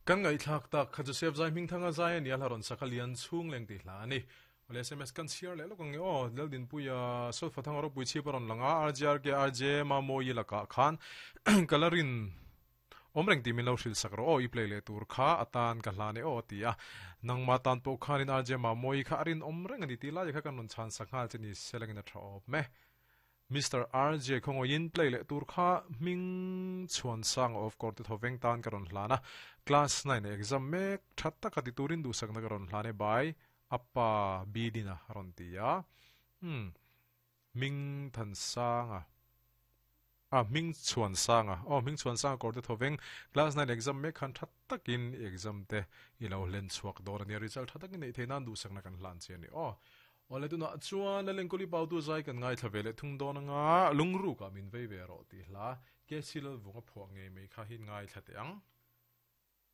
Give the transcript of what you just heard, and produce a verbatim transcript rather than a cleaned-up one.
Kan ngaihthlak tak kha Joseph Zai Hmingthanga zai a ni a, hla rawn sak a lian chhung leng tih hla a ni. Awle S M S kan chhiar leh lawk ang nge aw, Laldinpuia Sawlfathanga ropui chhip a rawn lang a, R J R K R J Mamawi lakah khan kalarin awm reng tih min lo hrilh sak rawh aw, i play leh tur kha atan ka hlan e aw a ti a. Nangmah tan pawh khanin R J Mamawi kha a rinawm reng a ni tih lai kha kan rawn chhan sak nghal che ni selangin a tha awm e. Mister R J khawngawiin play leh tur kha hming chhuan sang of court te thoveng tan ka rawn hlan a, class nine exam mek that taka ti turin duhsakna ka rawn hlan e bai apa bidina rawn ti a. hmm Ming than sanga a ming chhuan sanga o ming chhuan sanga kor te thoveng class nine exam mek khan that takin exam te i lo hlen chhuak dawr ania, result tha takin nei theinan duhsakna kan hlan che ani aw. Awle, tuna chuan lalengkawli pautu zai kan ngaithla ve leh thung dawn anga, lungru ka min vei ve rawh tih hla ke silal vunga phuah ngei mai kha hi ngaithla teh ang.